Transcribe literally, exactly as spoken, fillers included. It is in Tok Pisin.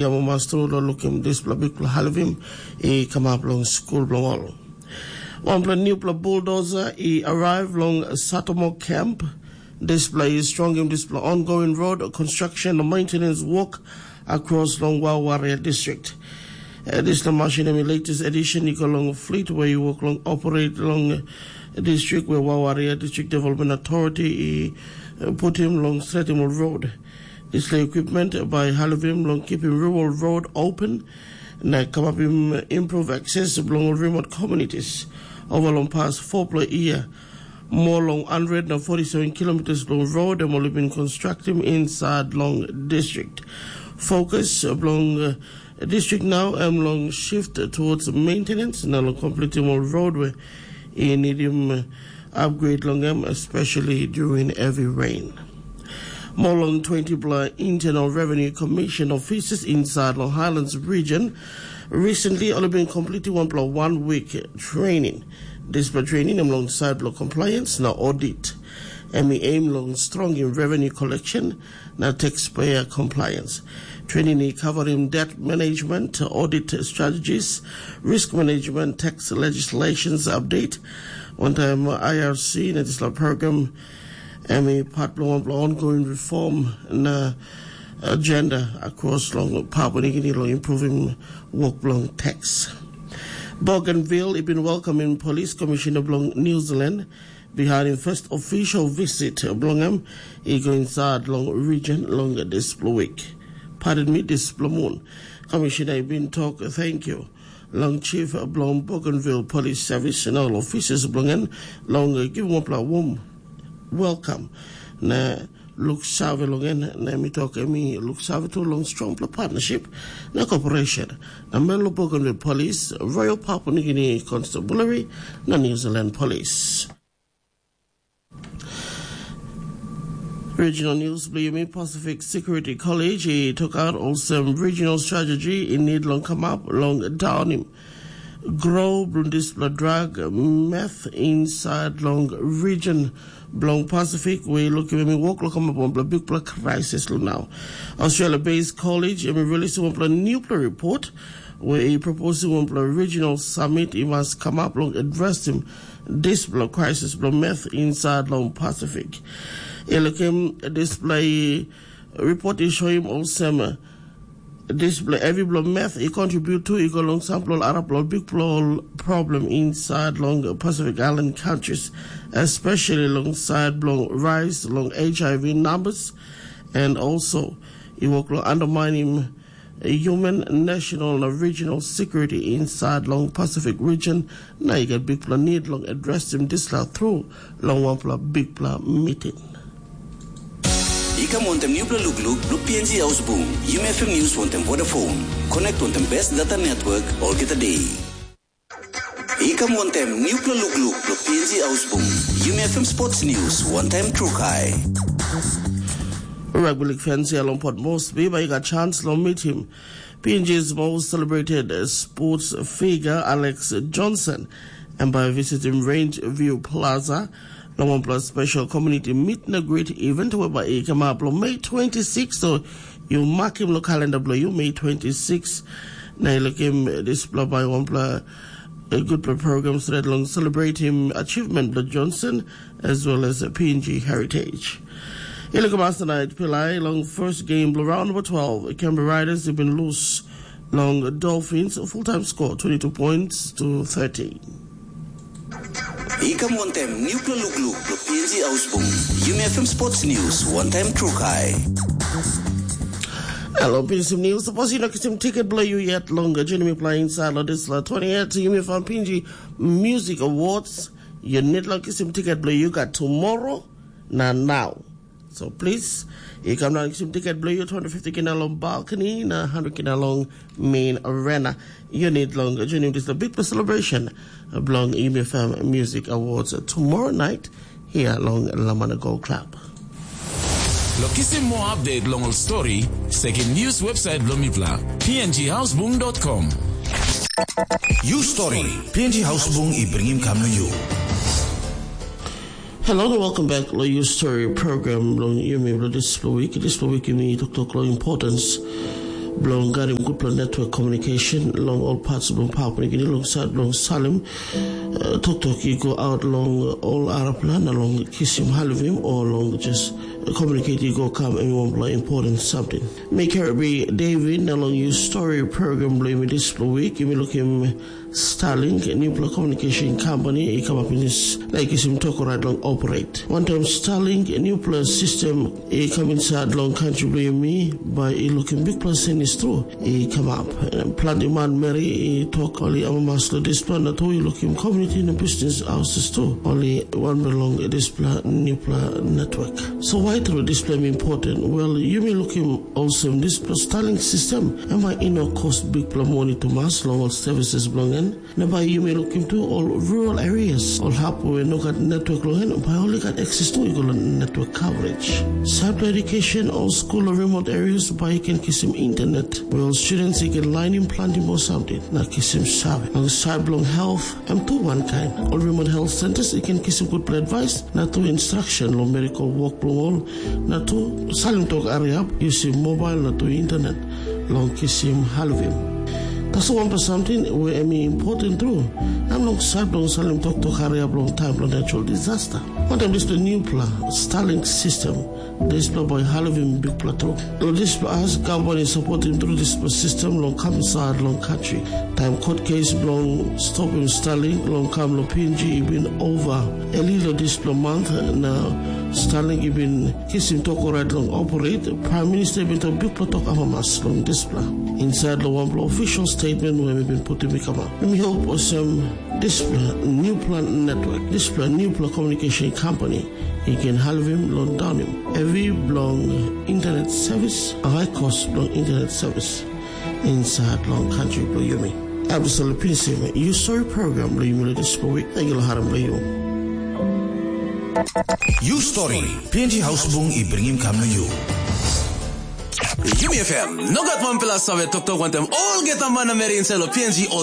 Ia mamas tru long lukim dispela bikpela halivim i kamap long skul bilong ol. Wanpela nupela buldoza i arrive long Satomo Camp. Dispela i strongim dispela ongoing road construction na maintenance work across long Wawaria district. Eh, dispela machine em i latest edition i go long fleet where i work long operate long district where Wawaria District Development Authority i eh, putim long stretim ol road. Dispela equipment bai halivim long keeping rural road open na kamapim improve access bilong ol remote communities. Over long past four-pela year, more long hundred na forty-seven kilometers long road em ol i bin constructim inside long district. Focus bilong uh, district now em long shift towards maintenance na long completing ol road where i nidim uh, upgrade long em, especially during heavy rain. More long twenty-pela Internal Revenue Commission officers inside long Highlands region recently only been completing one plus one week training. Dispela training em long side bilong compliance na audit. Em i aim long strong in revenue collection na taxpayer compliance. Training i covering debt management, audit strategies, risk management, tax legislations update, one time I R C na dispela program em i part bilong wanpela ongoing reform na agenda across long Papua New Guinea long improving work bilong tax. Bougainville i bin welcoming police commissioner bilong New Zealand behind im first official visit bilong em i go inside long region long dispela week. Pardon me, dispela moon. Commissioner i bin tok thank you long chief bilong Bougainville Police Service na ol officers bilong en long givim wanpela warm welcome na look save long en na mi tok em i look save tu long strongpela partnership na cooperation na Menlo Bougainville Police, Royal Papua New Guinea Constabulary na New Zealand Police. Regional News bilong yumi. Pacific Security College i tok out olsem regional strategy i need long kamap long daunim grow bilong dispela drug meth inside long region bilong Pacific we lukim em i wok long kamap wanpela bikpela crisis long now. Australia-based college em i release wanpela newpela report where i proposing wanpela regional summit i mas kamap long addressing dispela crisis bilong meth inside long Pacific. I lukim dispela report i show him olsem dispela heavy bilong meth i contribute to i go long sampela ol arapela ol bikpela ol problem inside long Pacific Island countries, especially long side bilong rise long H I V numbers, and also i work long undermining human national na regional security inside long Pacific region, na i gat bikpela need long addressing dispela through long wanpela bikpela meeting. I kam wantem newpela lukluk bilong P N G Hausbung, Yumi F M News wantem Vodafone. Connect wantem best data network olgeta day. I kam wantem newpela lukluk bilong P N G Hausbung, Yumi F M Sports News wantem Trukai. Rugby League fans ya long Port Moresby bai i gat chance long meeting P N G's most celebrated sports figure Alex Johnson, em bai visitim Range View Plaza long wanpela special community meet na greet event whereby i kamap long May twenty-six. So you mark him lo calendar bilong you, May twenty-six. Na i lukim dispela bai wanpela a good program straight long celebrate him achievement bilong Johnson as well as a P N G heritage. I lukim last night pilai long first game bilong round number twelve, Canberra Riders have been loose long Dolphins full-time score twenty-two points to thirty. I kam wantem newpela lukluk bilong P N G Hausbung, Yumi F M Sports News wantem Trukai. Hello, P N G News. Suppose you no kisim ticket bilong you yet long journey me playing side lo this la twenty-eight Yumi F M P N G Music Awards. You need long kisim ticket bilong you got tomorrow na now. So please, you come down kisim ticket bilong you twenty fifty kina long balcony na hundred kina long main arena. You need long journey this the big celebration bilong Yumi F M Music Awards tomorrow night here long Lamana Gold Club. Lo kisim more update long ol story, sekim news website bilong mipela, P N G Hausbung dot com. You story, P N G Hausbung i bringim kam na you. Hello and welcome back to your story program long Yumi Bladis Week. This week yumi talk talk long importance bilong garim gutpela network communication long all parts bilong Papua New Guinea long sait bilong salim uh, toktok i go out long all arapela na long kisim halivim o long just communicate i go kam em wanpela important something. Mi Kirby David na long you story program bilong mi dispela week yumi lukim Starlink, nupela communication company i kamap pinis na i kisim tok orait long operate. Wantaim Starlink, nupela system i kam inside long country bilong mi, bai i lukim bikpela senis tru i kamap. Planti manmeri i tok ol i amamas long dispela na tu i lukim community na business houses tu. Ol i wanbel long dispela nupela network. So why tru dispela mi important? Well, yumi lukim olsem dispela Starlink system, em bai i no kos bikpela moni tumas long ol services bilong en. Na bai yumi lukim tu ol rural areas, ol hap we no gat network long en, bai ol i gat access tu i go long network coverage. Sait bilong education, ol skul o remote areas bai i ken kisim internet, we ol students i ken lainim planti moa samting, na kisim save. Long sait bilong health, em tu wankain. Ol remote health centers i ken kisim gutpela advice, na tu instruction long medical work bilong ol, na tu salim tok hariap, yusim mobile na tu internet, long kisim halivim. Tasol wanpela samting we em i important tru, em long sait bilong salim toktok hariap long taim bilong natural disaster. Wantaim dispela nupela Starlink system, dispela bai halivim bikpela tru. Long dispela as gavman i sapotim tru dispela system long kam insait long kantri. Taim kot kes bilong stopim Starlink long kam long P N G i bin ova eli long dispela mant na Starlink i bin kisim tok orait long operate, Prime Minister i bin tok bikpela tok amamas long dispela. Insait long wanpela official statement we mi bin putim i kamap. Mi hope olsem dispela nupela network, dispela nupela communication company i ken halivim long daunim hevi bilong internet service, high cost bilong internet service insait long country bilong yumi. Em tasol pinisim yu stori program bilong yumi long dispela week. Thank you long harim bilong yu. Yu stori, P N G Hausbung i bringim kam long yu. Yumi F M, no gat wanpela save toktok wantaim olgeta manameri insait long P N G